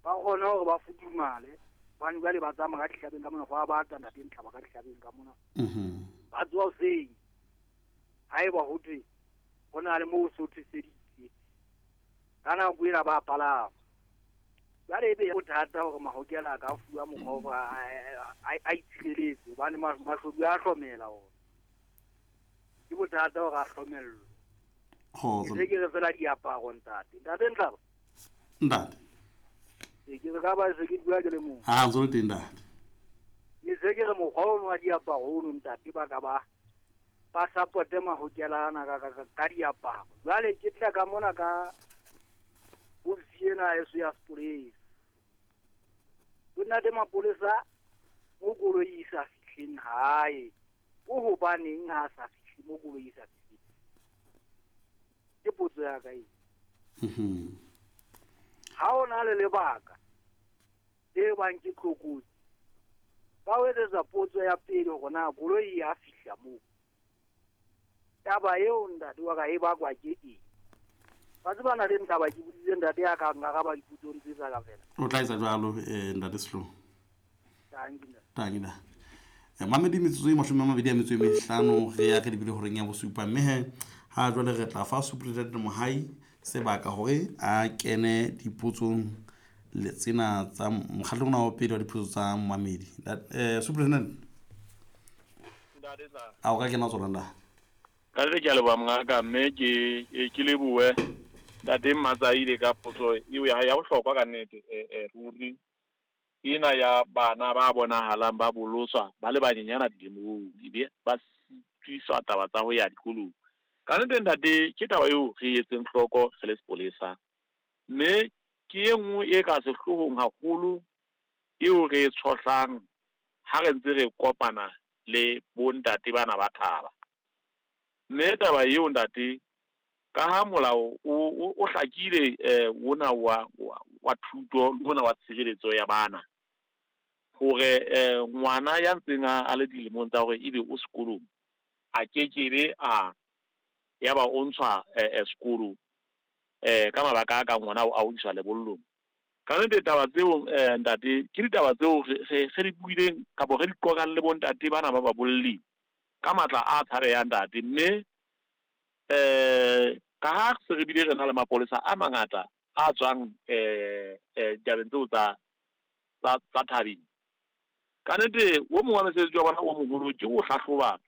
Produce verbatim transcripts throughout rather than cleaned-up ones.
Ba kgone hore ba futhumale hobane jwale ba tsamaya ka dihlabeng ka mona, ho a bata ntate Ntlaba ka dihlabeng ka mona. Mhm. Ba tsoha hoseng haeba ho thwe ho na le moo so thweseditse ka nako ena ba palama. Jwale ebe bothata hore mahokela a ka fuwa mokgwa wa hore a, a, a itshireletse hobane mashodu a hlomela ona. Ke bothata hore a hlomellwe. Kgotso. Ke se ke re fela diaparo ntate. Ntate Ntlaba. Ntate. Ke ke re ka ba se ke bua ke le mong. Ha ntso le teng ntate. Ke se ke re mokgwa ono wa diaparo ono ntate ba ka ba ba supporte mahokela ana ka, ka, ka, ka diaparo. Jwale ke tla ka mona ka ofisi ena ya heso ya sepolesa. Ho na le mapolesa mo koloi e sa fihleng hae. Ko hobaneng ha sa fihle mo koloi e sa fihleng? Ke potso ya ka eo. Mhm. Ha o na le lebaka le bang ke tlokotsi, ba o etsetsa potso ya pele hore na koloi ya fihla moo. Taba eo ntate wa ka e bakwa ke eng? Ba tseba na le ntaba ke boditse ntate ya ka nkaraba dipotsong tse tsa ka fela. O tla etsa jwalo, eh, ntate Sehloho. Tanki ntate. Tanki ntate. Eh, mamedi metsotso e mashome a mabedi a metso e mehlano re ya re lebile horeng ya bosupa, mme he ha jwale re tla fa Superintendent Mohai sebaka hore a kene dipotsong le tsena tsa mokgatlo ona wa pele wa dipotso tsa mamedi. That, eh, Superintendent. Ntate tla. A o ka kena tsona ntate? Ka re ke a leboha mongaka, mme ke, ke, ke lebohe ntate Mmatsaile ka potso eo ya hae ya bohlokwa ka nnete, eh, eh, ruri. Ena ya bana ba bonahalang ba bolotswa ba le banyenyana dilemong, ebe ba sitiswa taba tsa ho ya dikolong. Ka nnete ntate, ke taba eo re etseng hloko re le sepolesa, mme ke e nngwe e ka sehloohong haholo eo re e tshohlang ha re ntse re kopana le bontate bana ba thaba. Mme taba eo ntate, ka ha molao o, o, o hlakile, eh, ona wa, wa, wa thuto le ona wa tshireletso ya bana, hore, eh, ngwana ya ntseng a, a le dilemong tsa hore ebe o sekolong, a kekebe a ya ba o ntshwa, eh, eh, sekolo, eh, ka mabaka a kang ona ao a ho iswa lebollong. Ka nnete taba tseo, eh, ntate, ke ditaba tseo re, re, re di buileng kapa re di qoqang le bontate bana ba babolli ka matla a tshabehang ntate. Mme, eh, ka ha se re bile re na le mapolesa a mangata a tswang, eh, eh, ditabeng tseo tsa, tsa, tsa thabeng. Ka nnete, o mong wa mosebetsi wa bona o moholo ke ho hlahloba,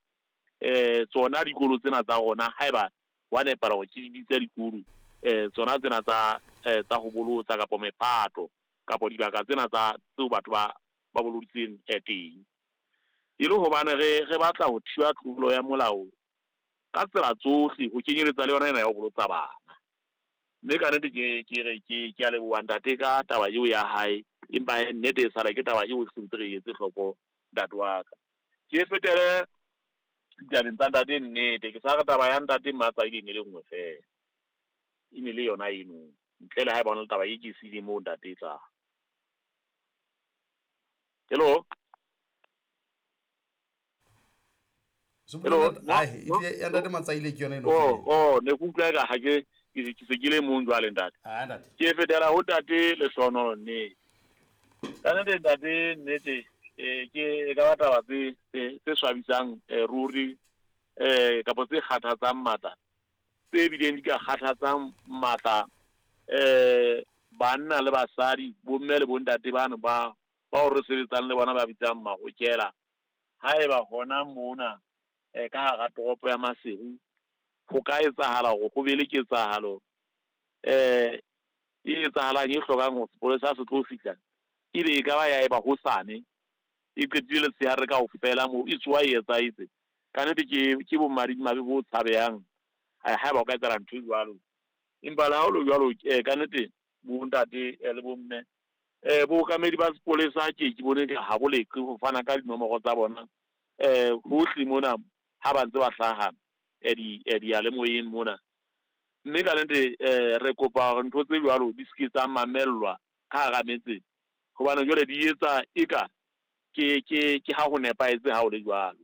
eh, tsona dikolo tsena tsa rona, haeba wa nepahala hore ke di bitse dikolo, eh, tsona tsena tsa, eh, tsa ho bolotsa kapa mephato kapa dibaka tsena tsa tseo batho ba, ba boloditseng, eh, teng. E le hobane re, re batla ho thiba tlolo ya molao ka tsela tsohle, ho kenyeletsa le yona ena ya ho bolotsa bana. Mme ka nnete ke, ke re, ke, ke a leboha ntate ka taba eo ya hae, empa he nnete e sala ke taba eo re sentse re etse hloko ntate wa ka. Ke fetele ditabeng tsa ntate nnete, ke sa re taba ya ntate Mmatsaile e ne le nngwe feela, e ne le yona eno, ntle le ha eba hona le taba e ke e siileng moo ntate e tlang. Hello? Superintendent, Hello? ai, e tlile ya ntate Matsaile ke yona eno Oh, feela. oh, ne ke utlwa eka ha ke, ke, ke se ke le mong jwale ntate. Ah, ntate. Ke fetela ho ntate Lehlohonolo nnete. Ka nnete ntate nnete, eh, ke e ka ba taba tse, tse, tse swabisang, eh, ruri, eh, kapa tse kgathatsang matla, tse bileng di ka kgathatsang matla, eh, banna le basadi, bomme le bontate bano ba, bao re sebetsang le bona ba bitsang mahokela. Haeba hona mona, eh, ka hara toropo ya Maseru ho ka etsahala hore ho be le ketsahalo, eh, e etsahalang e hlokang hore sepolesa se tlo fihla, ebe e ka ba ya eba hosane, e qetile letshehare kaofela moo, e tsoha e etsahetse. Ka nnete ke, ke bomadimabe bo tshabehang, ha, haeba o ka etsahala ntho e jwalo. Empa le ha ho le jwalo, eh, ka nnete bontate, eh, le bomme, eh, bookamedi ba sepolesa ke ke bone ha bo leqe ho fana ka dinomoro tsa bona, eh, hohle mona ha ba ntse ba hlaha, eh, di, eh, diyalemoyeng mona. Mme ka nnete, eh, re kopa hore ntho tse jwalo di se ke tsa mamellwa ka hara metse, hobane jwale di etsa eka ke, ke, ke ha ho nepahetse ha ho le jwalo.